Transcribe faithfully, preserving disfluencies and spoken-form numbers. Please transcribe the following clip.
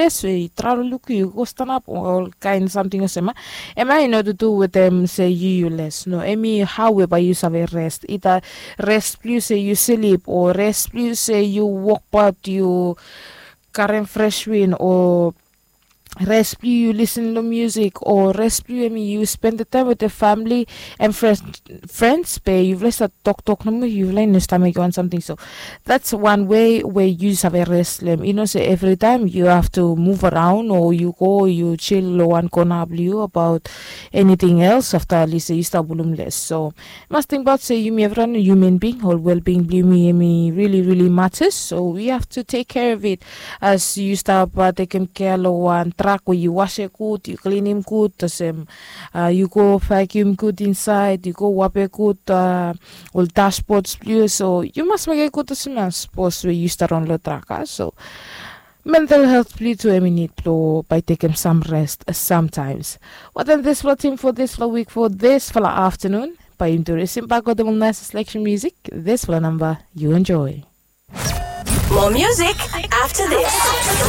les we yu travel luku yu go stanap ol kain samting olsem a em ya i no tutu wetem se yu yu les no em i hau we bai yu save rest ita rest blong yu se yu slip o rest blong yu se yu wokbaot yu karim fres win o res blong yu yu lisin long musik o res blong yu em yu spendem taem wetem famili em frens be yufala i stap toktok nomo yufala i no stap mekim wan samting so dats wan wei we yu save res long em i no se evritaem yu hav tu muv araon o yu go yu jil long wan kona blong yu abaot eniting els afta lise yu stap wulumles so mas tingbaot se yumi evriwan human bing ol welbing blong yumi em i rili rili matas so wi hav tu tek kea of it as yu stap tekem kea long wan trak we yu wasem gud yu klinim gud olsem yu go vakium gud insaed yu go wape gud ol dasbots blong yu so yu mas mekem gud olsem ya sapos we yu stap raon long trak a so mental helt blong yu tu em i nid blong bai tekem sam rest samtaems watem disfala tim fo disfala wik fo disfala aftanun bai yumi tu resim bak wetem ol naes selection musik disfala namba yu enjoy. More music after this.